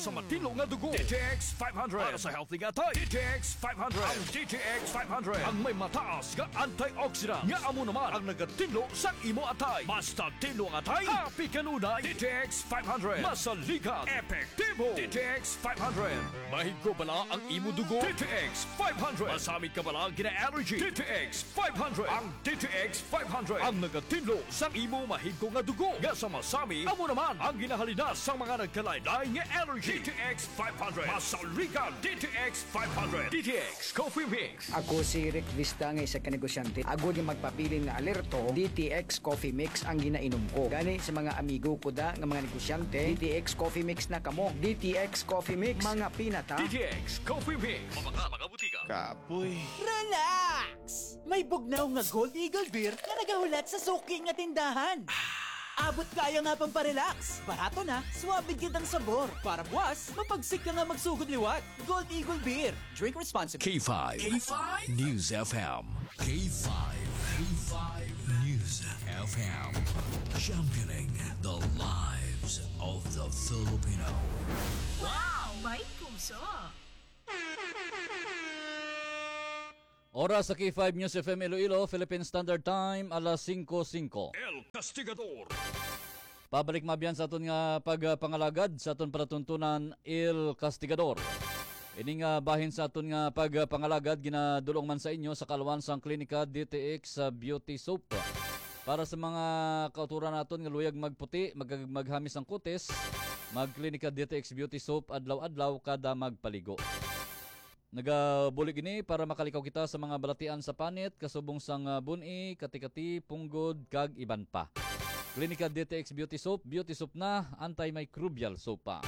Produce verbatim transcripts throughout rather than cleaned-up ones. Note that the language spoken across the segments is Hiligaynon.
sa matinlo nga dugo. D T X five hundred para sa healthy nga atay. D T X five hundred. Ang D T X five hundred ang may mataas nga antioxidant nga amo naman ang nagatinlo sa imo atay. Mas tinlo ang atay, happy kanunay. D T X five hundred. Masaligan, epektibo. D T X five hundred. Mahigko bala ang imo dugo. D T X five hundred. Masami ka bala gina-allergy. D T X five hundred. Ang D T X five hundred ang nagatinlo sa imo mahigko nga dugo nga sa masami amo naman ang ginahalina sa mga nagkalain-lain nga allergy. D T X five hundred. Masaligan, D T X five hundred. D T X Coffee Mix. Ako si Rick Vista nga isa ka negosyante. Agod nga magpabilin nga alerto, D T X Coffee Mix ang ginainom ko. Gani sa mga amigo ko da nga mga negosyante, D T X Coffee Mix na kamo. D T X Coffee Mix, mga pinata. D T X Coffee Mix. Mga, mga butika. Kapoy. Relax! May bugnaw nga Gold Eagle Beer nga nagahulat sa suki nga tindahan. Abot kaya nga pamparelax. Barato na, suabe gid ang sabor. Para buwas, mapagsik ka nga magsugod liwat. Gold Eagle Beer. Drink responsibly. K five K five News F M. K five, K five News F M. Championing the lives of the Filipino. Wow! May puso! Oras sa K five News F M Iloilo, Philippine Standard Time, alas singko singko. El Castigador. Pabalik mabyan sa aton nga pagpangalagad sa aton palatuntunan, El Castigador. Ini nga bahin sa aton nga pagpangalagad ginadulong man sa inyo sa kalwan sang Klinika D T X sa Beauty Soap. Para sa mga kauturan naton nga luyag magputi, mag-, maghamis ang kutis, mag-Klinika D T X Beauty Soap adlaw-adlaw kada magpaligo. Nagabulig ini para makalikaw kita sa mga balatian sa panit, kasubong sang, ah, bun-i, kati-kati, punggod, kag iban pa. Klinika D T X Beauty Soap, beauty soap na, antimicrobial soap pa.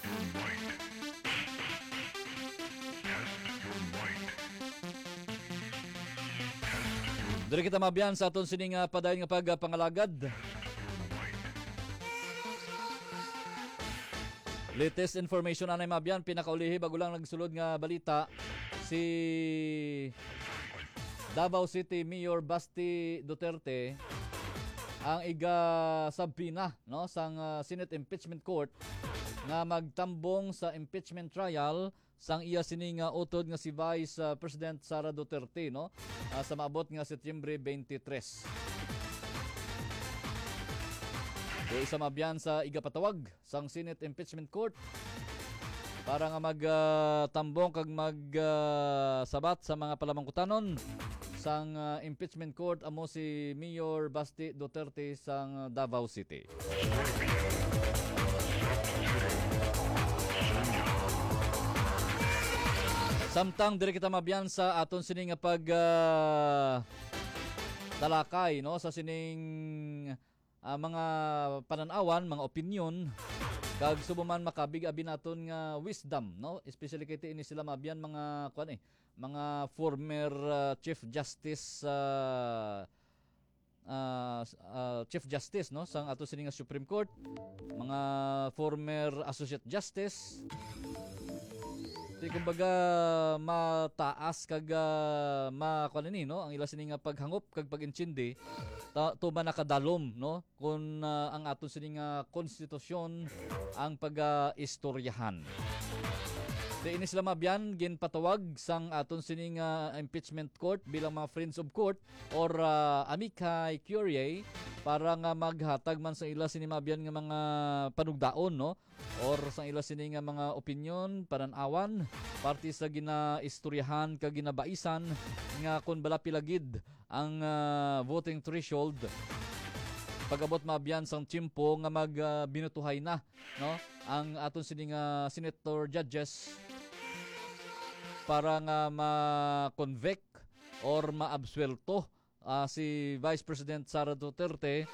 Your might. Test your might. Test your Diri kita mabyan sa aton sining, ah, padayon nga pagpangalagad. Latest information anay mabyan, pinakaulihi bago lang nagsulod nga balita, si Davao City Mayor Basti Duterte ang iga-subpoena, no, sang, ah, Senate Impeachment Court nga magtambong sa impeachment trial sang iya sini nga utod nga si Vice, ah, President Sara Duterte, no, ah, sa maabot nga Setyembre twenty-three. So, isa mabyan sa igapatawag sang Senate Impeachment Court para nga mag, ah, tambong kag mag, ah, sabat sa mga palamangkutanon sang, ah, Impeachment Court amo si Mayor Basti Duterte sang Davao City. Samtang diri kita mabyan sa aton sini nga pag, ah, talakay, no, sa sining, ah, mga panan-awan, mga opinyon, kag subong man makabig abi naton nga wisdom, no, especially kay ti ini sila mabyan mga, kuan, eh, mga former, ah, Chief Justice, ah, ah, s-, ah, Chief Justice, no, sang ato sini nga Supreme Court, mga former Associate Justice. Di, kumbaga, mataas kag, ah, ma-, kuan ini, no, ang ila sini nga paghangop kag pag-intindi, ta-, tuman nakadalom, no, kun, ah, ang aton sini nga konstitusyon ang pag-istoryahan. Di, ini sila mabyan ginpatawag sang aton sini nga impeachment court bilang mga friends of court or, ah, amicus curiae para nga maghatag man sa ila sini mabyan nga mga panugdaon, no? Or sa ila sini nga mga opinyon, panan-awan, parte sa ginaistoryahan kag ginabaisan nga kon bala pila gid ang, ah, voting threshold pag-abot mabyan sang tiyempo nga mag, ah, binutuhay na, no, ang aton sini nga senator judges para nga ma-convict or maabsuwelto, ah, si Vice President Sara Duterte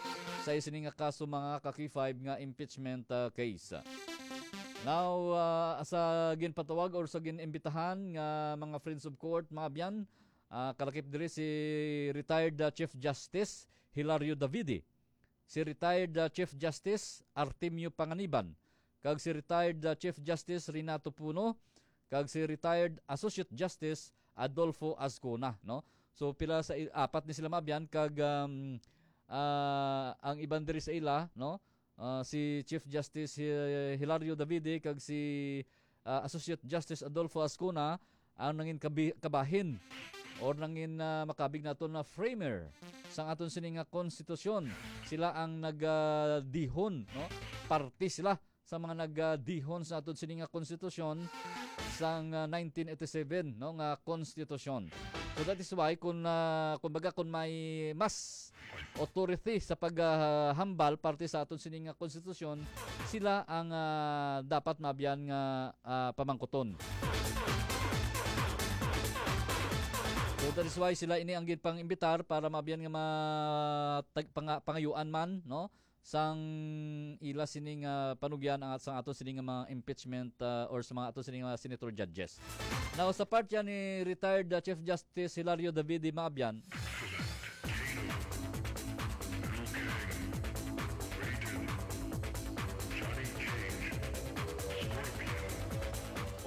sa sini nga kaso, mga ka-K five, nga impeachment, ah, case. Now, ah, sa ginpatawag or sa ginimbitahan nga mga friends of court, mga abyan, ah, kalakip diri si retired, ah, Chief Justice Hilario Davide, si retired, ah, Chief Justice Artemio Panganiban, kag si retired, ah, Chief Justice Renato Puno, kag si retired Associate Justice Adolfo Azcona, no? So, pila sa i-, apat ni sila, mga abyan, kag, um, ah, ang iban diri sa ila, no? Ah, si Chief Justice Hi-, Hilario Davide kag si, ah, Associate Justice Adolfo Ascuna ang nangin kabi-, kabahin or nangin, ah, makabig naton na framer sang aton sini nga konstitusyon. Sila ang nag, ah, dihon, no? Parte sila sa mga nag, ah, dihon sa aton sini nga konstitusyon sang, ah, nineteen eighty-seven, no, nga konstitusyon. So that is why kung, ah, kumbaga, kung may mas authority sa paghambal parte sa aton sini nga konstitusyon, sila ang, ah, dapat maabyan nga, ah, pamangkuton. So that is why sila ini ang ginpang-imbitar para maabyan nga ma-, tag-, panga-, pangayuan man, no, sang ila sini nga panugyan ang at-, sang ato sini nga mga impeachment, ah, or sa mga ato sini nga senator judges. Now, sa part yan ni retired, ah, Chief Justice Hilario Davide Maabyan,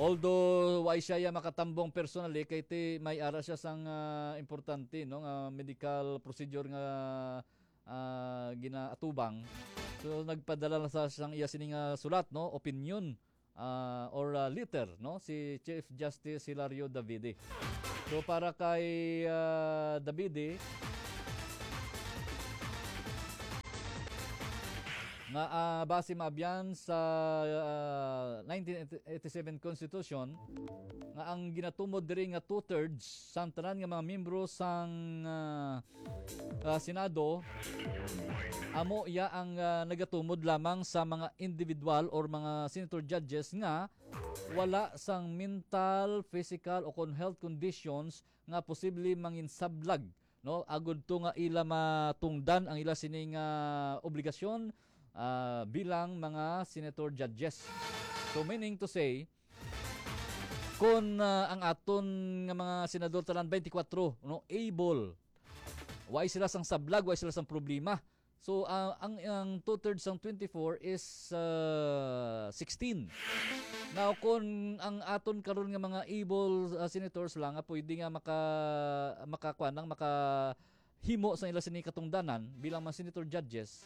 although wa siya ya makatambong personally, kay ti may ara siya sang, ah, importante, no, nga medical procedure nga, ah, ginaatubang. So, nagpadala na sa sang iya sini nga sulat, no, opinion, ah, or, ah, letter, no, si Chief Justice Hilario Davide. So, para kay, ah, Davide, nga, ah, base maabyan sa, ah, nineteen eighty-seven Constitution, nga ang ginatumod diri nga two-thirds sang tanan nga mga miyembro sang, ah, ah, Senado, amo iya ang, ah, nagatumod lamang sa mga individual or mga senator judges nga wala sang mental, physical, o kon health conditions nga posible manginsablag, no, agud to nga ila matungdan ang ila sini nga obligasyon, ah, bilang mga senator judges. So, meaning to say, kung, ah, ang aton nga mga senador tanan twenty-four, no, able, way sila sang sablag, way sila sang problema. So, ah, ang, ang two-thirds sang twenty-four is, ah, sixteen. Now, kung ang aton karon nga mga able, ah, senators lang nga pwede nga maka-, makakuan lang, makahimo sa ila sini katungdanan bilang mga senator judges,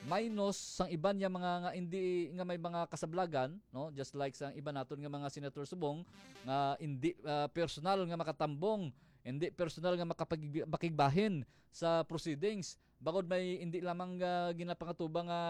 minus sang iban niya mga nga hindi nga may mga kasablagan, no? Just like sa iban naton nga mga senator subong nga hindi, ah, personal nga makatambong, hindi personal nga makapag-, makigbahin sa proceedings. Bangod may hindi lamang, ah, ginapangatubang nga,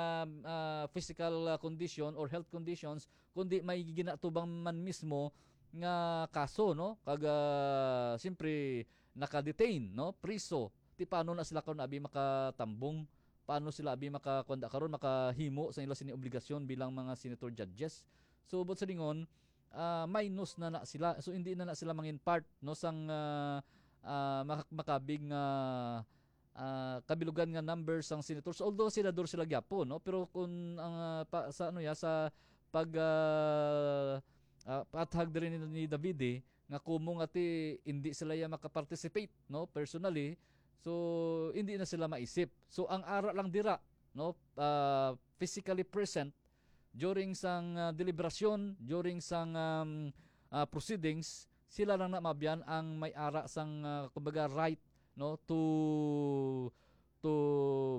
ah, physical, ah, condition or health conditions, kundi may ginatubang man mismo nga kaso, no? Kag, ah, siyempre, naka-detain, no? Priso. Ti paano na sila karon abi makatambong? Paano sila abi makakuanda karon, makahimo sa ila sini obligasyon bilang mga senator judges? So, buot silingon, ah, minus na na sila. So, hindi na na sila mangin part, no, sang, ah, ah, mak-, makabig nga, ah, kabilugan nga numbers sang senators. Although senador sila gyapon, no, pero kung ang, ah, pa, sa ano ya, sa pag, ah, ah, paathag diri ni, ni Davide, nga kumo nga ti hindi sila ya makaparticipate, no, personally, so hindi na sila maisip. So ang ara lang dira, no, ah, physically present during sang, ah, deliberasyon, during sang, um, ah, proceedings, sila lang na mabyan ang may ara sang, ah, kumbaga, right, no, to, to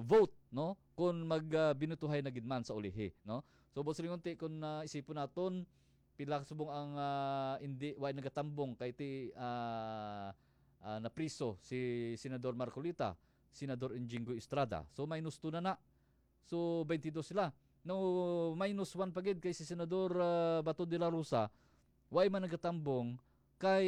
vote, no, kung mag, ah, binutuhay na gid man sa ulihi, no. So, buot silingon ti, kung, ah, isipon naton, pila subong ang, ah, hindi, way nagatambong kay ti, ah, ah, napriso si Senador Marcoleta, Senador Jinggoy Estrada. So, minus two na na. So, twenty-two sila. No, minus one pa gid kay si Senador, ah, Bato de la Rosa, way man nagatambong kay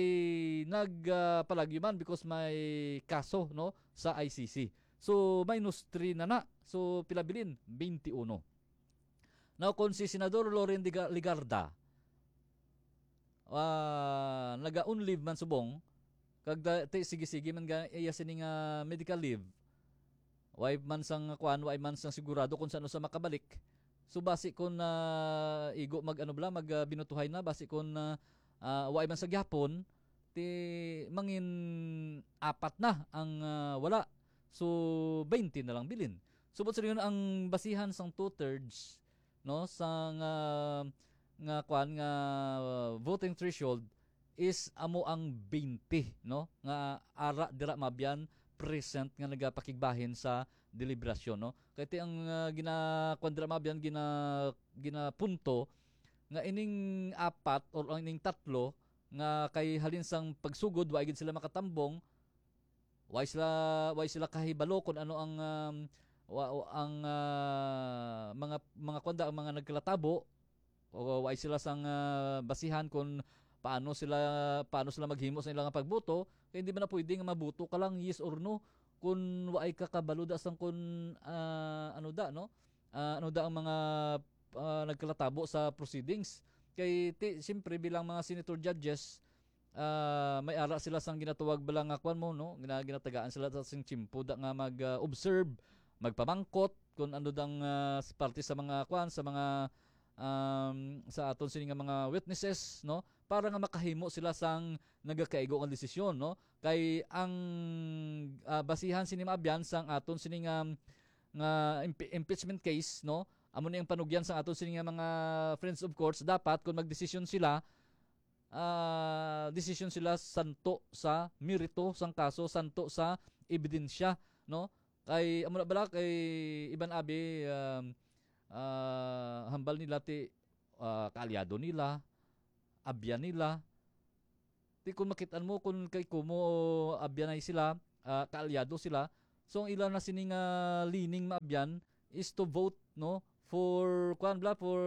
nag, ah, palagyo man because may kaso, no, sa I C C. So, minus three na na. So, pila bilin? Twenty-uno. Now, kung si Senador Loren Diga-, Legarda, ah, naga-on leave man subong, kag da-, ti, sige-sige man ga-, iya sini nga medical leave. Way man sang kuan, way man sang sigurado kung saan sa makabalik. So, basi kung, ah, igo mag, ano bala, mag, ah, binutuhay na, basi kung, ah, ah, way man sa gyapon, ti mangin apat na ang, ah, wala. So, twenty na lang bilin. So, buot silingon, ang basihan sang two-thirds, no, sa nga, nga kwan nga, uh, voting threshold is amo ang twenty, no, nga ara dira mabyan present nga nagapakigbahin sa deliberasyon, no. Kay ti ang, ah, gina-, kuwan dira, mga abyan, gina-, ginapunto nga ining apat or ang ining tatlo nga kay halin sang pagsugod, wa gid sila makatambong, wa sila, wa sila kahibalo kung ano ang, um, wa-, ang, ah, mga, mga kuwan da, ang mga nagkalatabo, o wa sila sang, ah, basihan kung paano sila, paano sila maghimo sa ilang pagboto, kay hindi man na pwede nga maboto ka lang yes or no kung waay ka kabalo da sang kung, ah, ano da, no? Ah, ano da ang mga, ah, nagkalatabo sa proceedings. Kay ti-, siyempre, bilang mga senator judges, ah, may ara sila sang ginatawag bala nga kwan mo, no? Gina-, ginatagaan sila sa sing tiyempo da nga mag, ah, observe, magpamangkot kung ano dang, ah, s-, parte sa mga kwan, sa mga, um, sa aton sini nga mga witnesses, no? Para nga makahimo sila sang nagakaigo nga desisyon, no? Kay ang, ah, basihan sini, mga abyan, sang aton sini nga, nga impe-, impeachment case, no? Amo ni ang panugyan sang aton sini nga mga friends of courts, dapat kung magdesisyon sila, ah, desisyon sila santo sa merito sang kaso, santo sa ebidensya, no? Kay amo na bala, kay iban abi, um, ah, hambal nila ti, ah, kaalyado nila, abyan nila. Ti kung makit-an mo kung kay kumo abyanay sila, ah, kaalyado sila. So ang ila na sini nga leaning, mga abyan, is to vote, no, for, kuan bala, for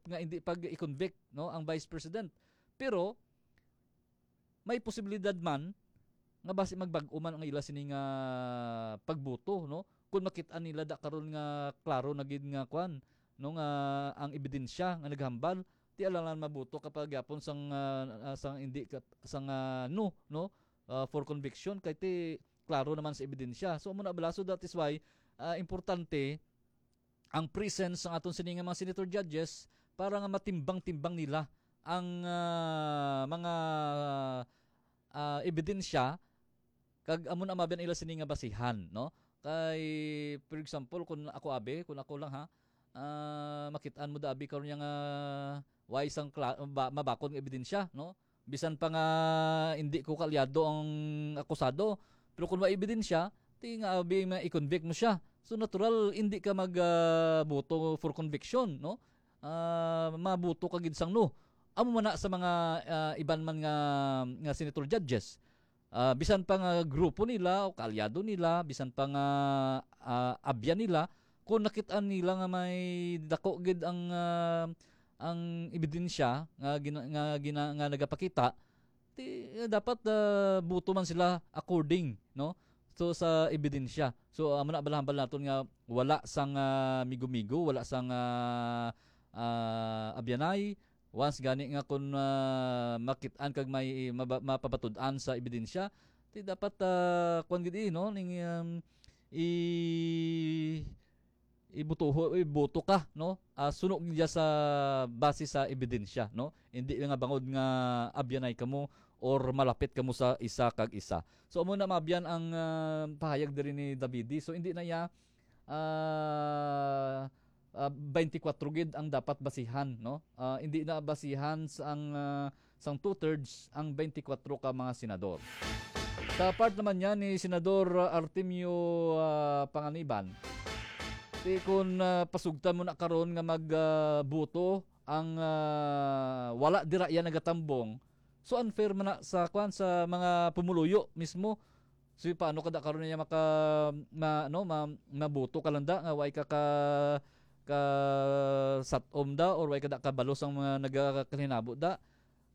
nga hindi pag i-convict, no, ang vice president. Pero may posibilidad man nga basi magbag-o man ang ila sini nga pagboto, no? Kung makit-an nila da karon nga klaro na gid nga kwan, no, nga ang ebidensya nga naghambal, ti alangan maboto ka pa gyapon sang, ah, ah, sang hindi ka, sang, ah, no, no? Ah, for conviction, kay ti klaro naman sa ebidensya. So amo na bala, so that is why, ah, importante ang presence sang aton sini nga mga senator judges para nga matimbang-timbang nila ang, ah, mga, ah, ebidensya, kag amo na mabyan ila sini nga basihan, no? Kay, for example, kung ako abi, kung ako lang ha, ah, makit-an mo da abi karon nga way sang kla-, ba-, mabakod nga ebidensya, no? Bisan pa nga hindi ko kaalyado ang akusado, pero kung may ebidensya, ti nga abi ma-convict mo siya. So natural, hindi ka mag, ah, boto for conviction, no? Ah, maboto ka gid sang no. Amo man na sa mga, ah, iban man nga, nga senator judges. Ah, bisan pa nga grupo nila o kaalyado nila, bisan pa nga, ah, abyan nila, kung nakit-an nila nga may dako gid ang, ah, ang ebidensya nga gina-, nga gina-, nga nagapakita, ti, eh, dapat, ah, boto man sila according, no? So, sa ebidensya. So, amo na, balahambal naton nga wala sang, ah, migo-migo, wala sang, ah, ah, abyanay. Once gani nga kung, ah, makit-an kag may maba-, mapabatud-an sa ebidensya, ti dapat, ah, kuwan gid, eh, no? Ning, um, i-, ibutuho, iboto ka, no? Ah, suno gid sa base sa ebidensya, no? Hindi nga bangod nga abyanay kamo or malapit kamo sa isa kag isa. So, amo na, mga abyan, ang, ah, pahayag diri ni Davide. So, hindi na iya, ah, ah, twenty-four gid ang dapat basihan, no? Ah, hindi na basihan sa ang, ah, sang two-thirds ang twenty-four ka mga senador. Sa part naman niya ni Senador Artemio, ah, Panganiban, ti kun, ah, pasugtan mo na karon nga mag, ah, boto ang, ah, wala dira iya nagatambong, so unfair man na sa, kwan, sa mga pumuluyo mismo. So paano kada karon niya maka, ma-, ano, ma-, maboto ka lang da nga way ka ka, ka satom da or way ka da kabalo sang mga nagakalinabo da?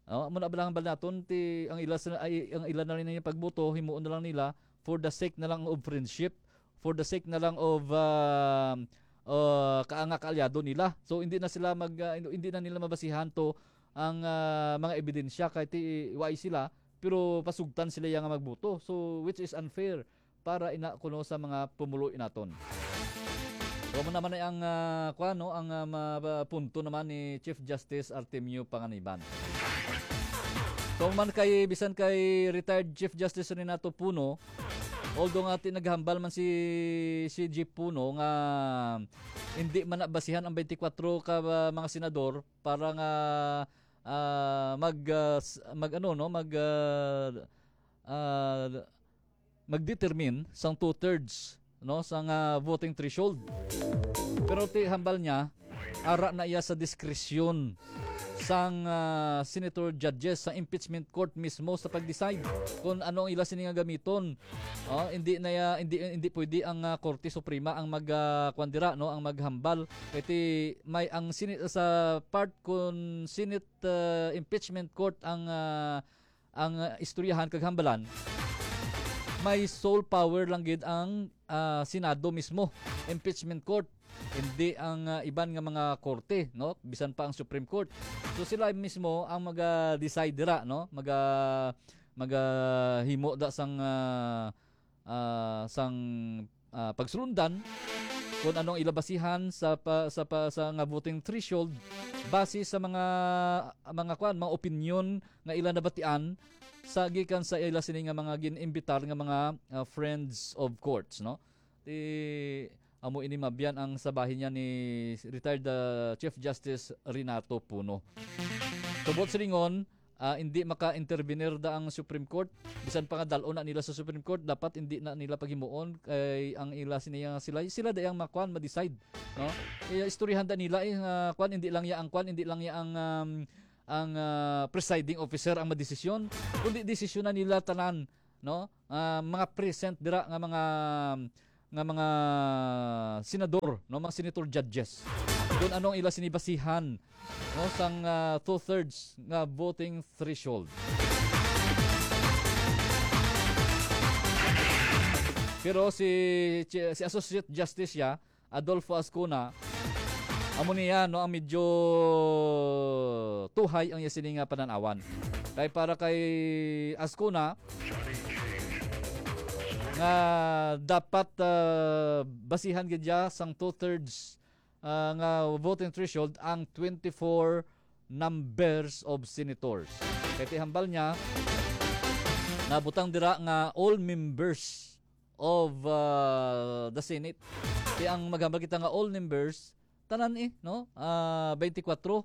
Oh, amo na bala ang bal naton ti ang ila sa, ay, ang ila na rin yung pagboto, himuon na lang nila for the sake na lang of friendship, for the sake na lang of, ah, ah, kaanga kaalyado nila. So hindi na sila mag, ah, hindi na nila mabasihan to ang, ah, mga ebidensya kay ti way sila, pero pasugtan sila yang magboto. So which is unfair para ina kuno sa mga pumulo naton. So, mo naman ay ang, ah, kuwan, no, ang, ah, ma-, ba-, punto naman ni Chief Justice Artemio Panganiban. So, man kay, bisan kay retired Chief Justice Renato Puno, although nga ti naghambal man si, si Jeff Puno nga hindi man nabasihan ang twenty-four ka, ah, mga senador para nga, ah, mag, ah, s-, mag, ano, no, mag, ah, ah, mag-determine sang two-thirds no, sang, ah, voting threshold. Pero ti hambal niya, ara na iya sa diskresyon sang, ah, senator judges sa impeachment court mismo sa pag-decide kung ano ang ila sini nga gamiton. Oh, hindi na ya, hindi, hindi pwede ang, ah, Korte Suprema ang mag, ah, kwan dira, no, ang maghambal. Kay ti may ang Senate sa part kung Senate, ah, impeachment court ang, ah, ang, ah, istoryahan kag hambalan, may sole power lang gid ang, ah, Senado mismo, impeachment court, hindi ang, ah, iban nga mga korte, no? Bisan pa ang Supreme Court. So sila mismo ang maga-decide dira, no? Maga-, magahimo da sang, ah, ah, sang, ah, pagsulundan kung anong ila basihan sa pa, sa pa, sa nga voting threshold base sa mga, mga kwan, mga opinyon nga ila nabatian sa gikan sa ila sini nga mga gin-imbitar nga mga, ah, friends of courts, no? Ti amo ini mabyan ang sa bahin niya ni retired, ah, Chief Justice Renato Puno. Tubot silingon, ah, hindi maka-intervenir da ang Supreme Court. Bisan pa nga dal-on na nila sa Supreme Court, dapat hindi na nila paghimuon kay ang ila sini nga sila, sila da ang makuan, ma-decide, no? Eh, istoryahan da nila, eh, nga kuan, hindi lang ya ang kuan, hindi lang ya ang, um, ang, ah, presiding officer ang madesisyon, kundi desisyon na nila tanan, no? Ah, mga present dira nga mga, nga mga senador, no, mga senator judges. Kung anong ila sini basihan, no, sang, ah, two-thirds nga voting threshold. Pero si, si Associate Justice siya, Adolfo Azcuna, amo niya, no, ang medyo tuhay ang iya sini nga panan-awan. Kay para kay Azcuna, nga dapat, ah, basihan gid siya sang two-thirds, ah, nga voting threshold ang twenty-four numbers of senators. Kay ti hambal niya, nabutang dira nga all members of, ah, the Senate. Kaya ang maghambal kita nga all members, tanan eh, no? Ah, twenty-four,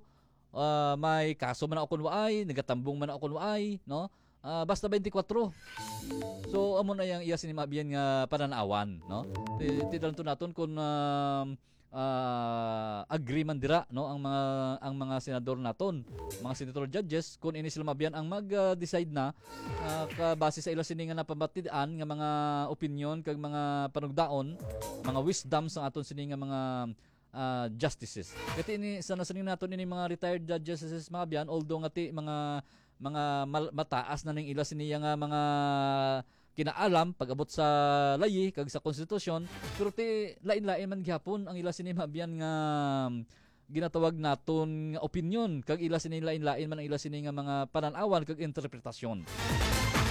ah, may kaso man ako kun waay, nagatambong man ako kun waay, no? Ah, basta twenty-four. So, amo na yang iya sini mabiyan nga pananawan, no? Ti-, tidalon to naton kung, um, ah, agree man dira, no, ang mga, ang mga senador naton, mga senator judges, kung ini sila mabiyan ang mag-decide na, ah, ka-, base sa ila sini nga napamatian nga mga opinion kag mga panugdaon, mga wisdom sa aton sini nga mga, ah, justices. Kati ini sa nasining naton ini mga retired judges, mga biyan, although nga ti mga, mga mal-, mataas na ning ila sini nga mga kinaalam pag-abot sa layi kag sa konstitusyon, pero ti lain-lain man gihapon ang ila sini mabiyan nga ginatawag naton nga opinyon, kag ila sini lain-lain man ang ila sini nga mga panan-awan kag interpretasyon.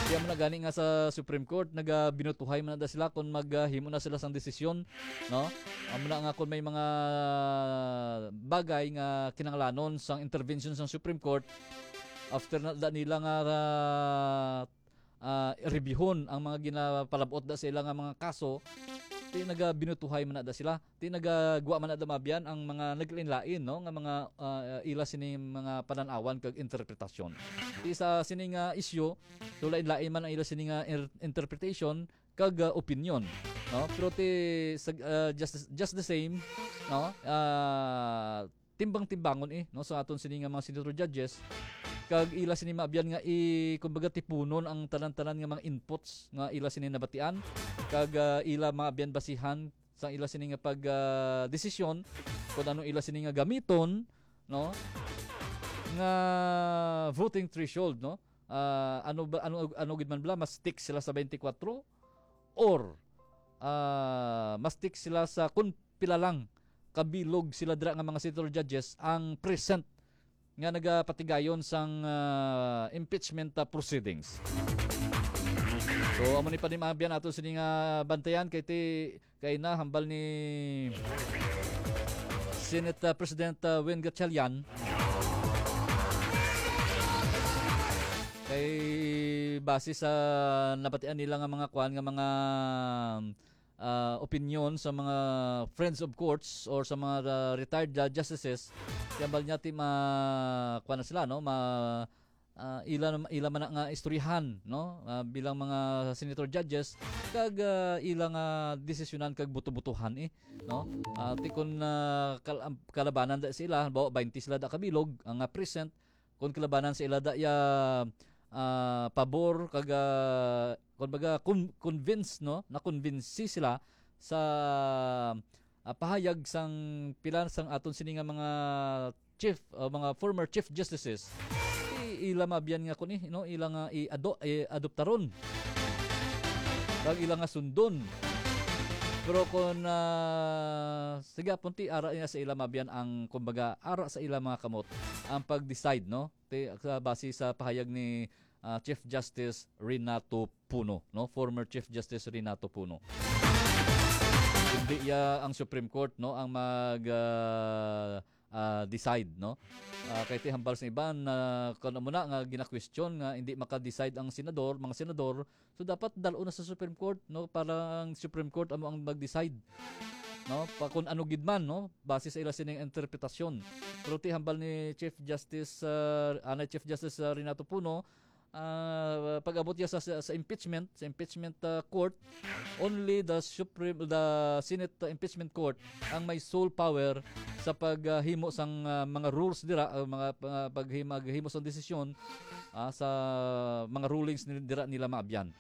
Kaya mo na gani nga sa Supreme Court, nagabinutuhay man na da sila kung maghimo na sila sang desisyon, no? Amo na nga kung may mga bagay nga kinahanglanon sang intervention sang Supreme Court, after na da nila nga, ah, ah, reviewhon ang mga ginapalabot da sa ila nga mga kaso, ti nagabinutuhay man na da sila, ti nagagwa man na da mabiyan ang mga naglain-lain, no, nga mga, ah, ila sini mga panan-awan kag interpretasyon. Ti sa sini nga isyu, so lain-lain man ang ila sini nga er-, interpretation kag, ah, opinion, no? Pero ti sa, ah, just, just the same, no? Ah, timbang-timbangon, eh, no, sa aton sini nga mga senator judges, kag ila sini maabyan nga i-, kumbaga, tipunon ang tanan-tanan nga mga inputs nga ila sini nabatian, kag, ah, ila maabyan basihan sa ila sini nga pag, ah, desisyon kung ano ila sini nga gamiton, no, nga voting threshold, no? Ah, ano ba, ano, ano gid man bala, mas stick sila sa twenty-four or, ah, mas stick sila sa kung pila lang kabilog sila dira nga mga senator judges ang present nga nagapatigayon sang, ah, impeachment, ah, proceedings. So, amo ni pa ni maabyan ato sini nga bantayan kay ti kay na hambal ni Senate, ah, President, ah, Win Gatchalian. Kay base sa nabatian nila nga mga kwan, nga mga, ah, opinion sa mga friends of courts or sa mga, ah, retired, ah, justices, kaya hambal niya ti ma-, kwan na sila, no? Ma-, ah, ila nam-, ila man na nga istoryahan, no? Ah, bilang mga senator judges, kag, ah, ila nga desisyonan kag buto-butuhan, eh, no? Ah, ti kun, ah, kal-, am-, kalabanan da sa ila, halimbawa, twenty sila da kabilog, ang, ah, present, kun kalabanan sa ila da ya, ah, pabor, kag, ah, kun baga, con-, convince, no? Na-convince sila sa, ah, pahayag sang pila sang aton sini nga mga chief, ah, mga former chief justices, i-, ila maabyan nga kun, eh, no, ila nga i-ado-, i-adoptaron, kag ila nga sundon. Pero kun, ah, sige, punti, ara niya sa ila maabyan ang, kumbaga, ara sa ila mga kamot ang pag-decide, no? Ti-, sa, base sa pahayag ni, ah, Chief Justice Renato Puno, no? Former Chief Justice Renato Puno. Hindi ya ang Supreme Court, no, ang mag, ah, ah, decide, no? Ah, kay ti hambal sa iban na kun amo na nga gina-question nga hindi maka-decide ang senador, mga senador, so dapat dal-on na sa Supreme Court, no, para ang Supreme Court amo ang mag-decide, no, pa kun ano gid man, no, base sa ila sining interpretasyon. Pero ti hambal ni Chief Justice, ah, anay Chief Justice, ah, Renato Puno, ah, pag-abot niya sa, sa, sa impeachment, sa impeachment, ah, court, only the Supreme, the Senate, ah, Impeachment Court ang may sole power sa paghimo sang, ah, mga rules dira, ah, mga, ah, paghim-, paghimo sang desisyon, ah, sa mga rulings ni-, dira nila maabyan.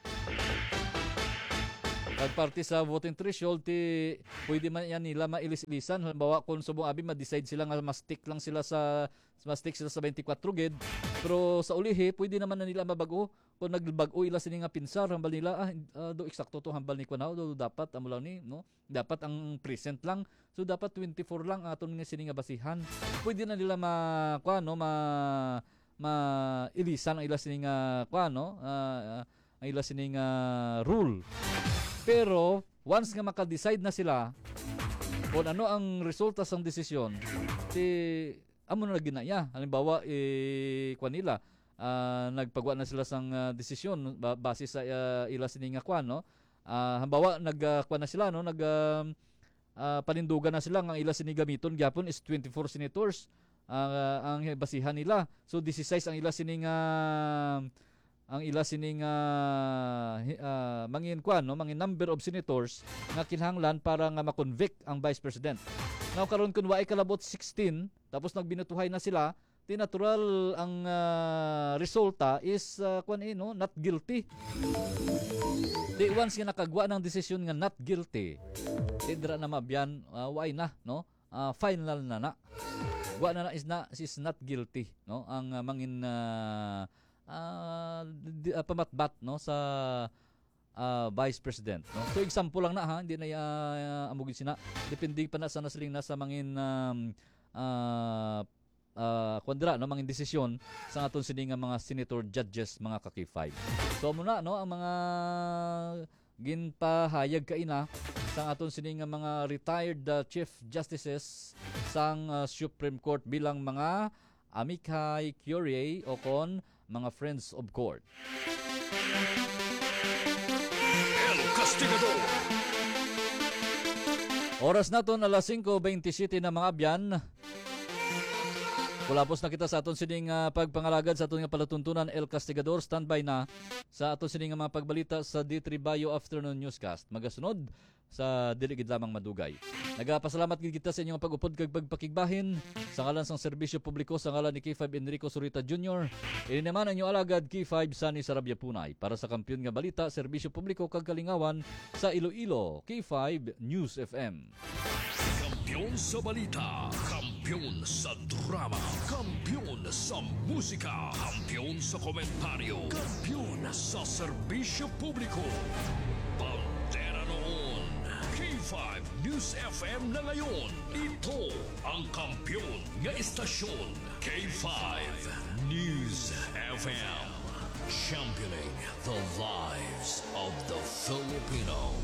Pag parte sa voting threshold, ti pwede man yan nila mailis-ilisan. Halimbawa, kung subong abi, ma-decide sila nga ma-stick lang sila sa, ma-stick sila sa twenty-four gid. Pero sa ulihi, pwede naman na nila mabag-o. Kung nagbag-o ila sini nga pinsar, hambal nila, ah, ah, do eksakto to, hambal ni kuan, do dapat, amo lang ni, no? Dapat ang present lang. So, dapat twenty-four lang ang aton nga sini nga basihan. Pwede na nila ma-, kuan, no? Ma-, ma-ilisan ang ila sini nga, kuan, no? Ah, ah, ang ila sini nga rule. Pero, once nga maka-decide na sila kung ano ang resulta sang desisyon, ti amo na ginaya. Halimbawa, eh, kuan nila, ah, nagpagwa na sila sang, ah, desisyon ba-, base sa, ah, ila sini nga kuan, no? Ah, halimbawa, nag, ah, kuan na sila, no? Nag, ah, ah, panindugan na sila nga ang ila sini gamiton gyapon is twenty-four senators, ah, ang basihan nila. So, disisais ang ila sini nga, ang ila sini nga, hi-, ah, mangin kuan, no? Mangin number of senators nga kinahanglan para nga ma-convict ang Vice President. Now, karon, kung waay kalabot sixteen, tapos nagbinutuhay na sila, di natural ang, ah, resulta is, ah, kuan, eh, no? Not guilty. Di once nga nakagwa ng desisyon nga not guilty, di dira na maabyan, ah, waay na, no? Ah, final na na. Wa na na is na, is not guilty, no? Ang, ah, mangin, ah, ah, di, ah, pamatbat, no, sa, ah, Vice President, no? So, example lang na, ha, hindi na, ah, amo gid sina. Depende pa na sa nasiling na sa mangin, um, ah, ah, kuwan dira, no, mangin desisyon sa aton sini nga mga senator judges, mga ka-K five. So, amo na, no, ang mga ginpahayag kaina sang aton sini nga mga retired, ah, Chief Justices sang, ah, Supreme Court bilang mga amicus curiae o kon mga friends of court. El Castigador. Oras naton alas singko bentisiete na, mga abyan. Kulapos na kita sa aton sining, ah, pagpangalagad sa aton nga palatuntunan, El Castigador. Standby na sa aton sining nga mga pagbalita sa D three Bayo Afternoon Newscast. Magasunod sa dili gid lamang madugay. Nagapasalamat gid kita sa inyong pag-upod kag pagpakigbahin. Sa ngalan sang serbisyo publiko, sa ngalan ni K five Enrico Zurita Junior, ini naman ang inyong alagad, K five Sunny Sarabia Punay, para sa Kampiyon nga Balita, Serbisyo Publiko kag Kalingawan sa Iloilo, K five News F M. Kampiyon sa balita, kampiyon sa drama, kampiyon sa musika, kampiyon sa komentaryo, kampiyon sa serbisyo publiko. Bandera noon, K five News F M na ngayon. Ito ang kampiyon nga istasyon, K five News F M. Championing the lives of the Filipino.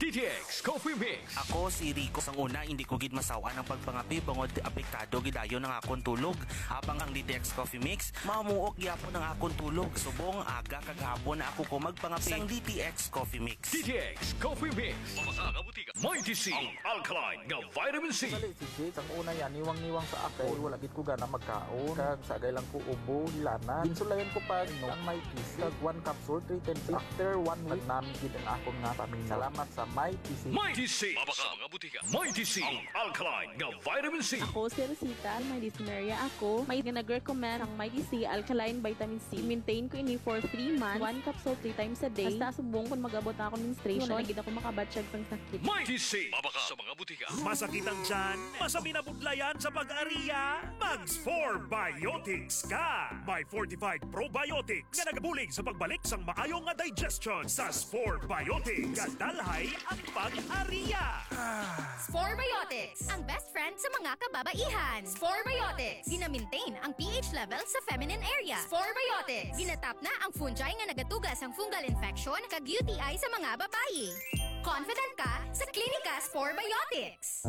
D T X Coffee Mix. Ako si Rico. Sang una, hindi ko gid masaw-an ang pagpangapi bangod apektado gid dayon ang akon tulog. Habang ang D T X Coffee Mix, mamuok gyapon ang akon tulog. Subong aga kag hapon na ako ko magpangapi sang D T X Coffee Mix. D T X Coffee Mix. Mabasa nga butika. Mighty C, ang alkaline nga vitamin C. Dali, si Jake, ang una yan, niwang-niwang sa ako. Wala gid ko gana magkaon. Kag sagay lang ko ubo, hilanat. Ginsulayan ko pa, no, ang may kisi. Kag one capsule, three times. After one week, nami gid ang akon nga pamilya. Salamat sa may kisi. Mighty C. Mabaka mga butika. Mighty C, ang alkaline nga vitamin C. Ako si Rosita, may dysmenorrhea ako. May nga nag-recommend ang Mighty C alkaline vitamin C. Maintain ko ini for three months. One capsule three times a day. Hasta subong kung mag-abot na ako menstruation, wala na gid ako makabatyag sang sakit. Mighty C. Mabaka sa mga butika. Masakit ang tiyan? Masabi na budlayan sa pag-ariya? Mag Spore Biotics ka! May fortified probiotics nga nagabulig sa pagbalik sang maayo nga digestion. Sa Spore Biotics, gadalhay ang pag-ariya. Spore Biotics, ang best friend sa mga kababaihan. Spore Biotics, gina-maintain ang P H level sa feminine area. Spore Biotics, ginatap na ang fungi nga nagatuga sang fungal infection kag U T I sa mga babayi. Confident ka sa Klinika Spore Biotics.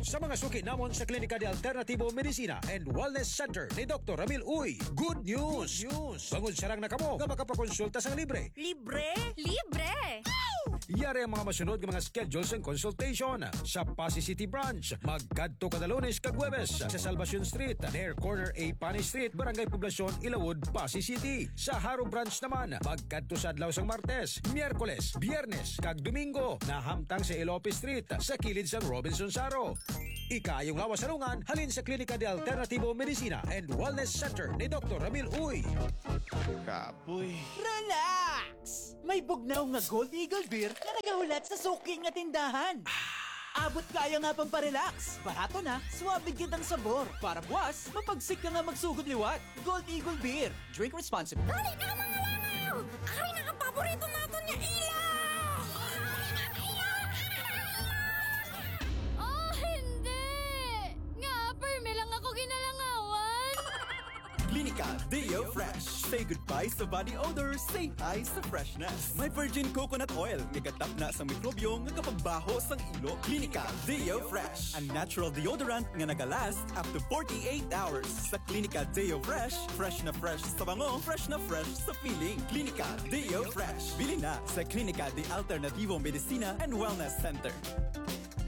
Sa mga suki namon sa Klinika de Alternativo Medicina and Wellness Center ni Doktor Ramil Uy, good news! Good news! Bangod sarang na kamo nga makapakonsulta sang libre. Libre? Libre! Yari ang mga masunod nga mga schedule sang consultation. Sa Passi City Branch, magkadto kada Lunes kag Huwebes sa Salvacion Street, near corner A Pani Street, Barangay Poblacion, Ilawod, Passi City. Sa Jaro Branch naman, magkadto sa adlaw sang Martes, Miyerkules, Biyernes, kag Domingo, nahamtang sa Elope Street, sa kilid sang Robinson Jaro. Ikaayong lawas sa lungan halin sa Klinika de Alternativo Medicina and Wellness Center ni Doktor Ramil Uy. Kapoy. Relax! May bugnaw nga Gold Eagle Beer nga nagahulat sa suki nga tindahan. Abot kaya nga pampa-relax. Barato na, suabe gid ang sabor. Para buwas, mapagsik ka nga magsugod liwat. Gold Eagle Beer. Drink responsibly. Dali na, mga langaw! Ari na ang paborito naton nga ilaw! Oh, hindi! Nga, permi lang ako ginalangawan! Klinika Deo Fresh. Say goodbye sa body odor, say hi sa freshness. May virgin coconut oil nga gatapna sa mikrobyo nga kapagbaho sang ilo. Klinika Deo Fresh, a natural deodorant nga nagalast up to forty-eight hours. Sa Klinika Deo Fresh, fresh na fresh sa bango, fresh na fresh sa feeling. Klinika Deo Fresh. Bili na sa Klinika de Alternativo Medicina and Wellness Center.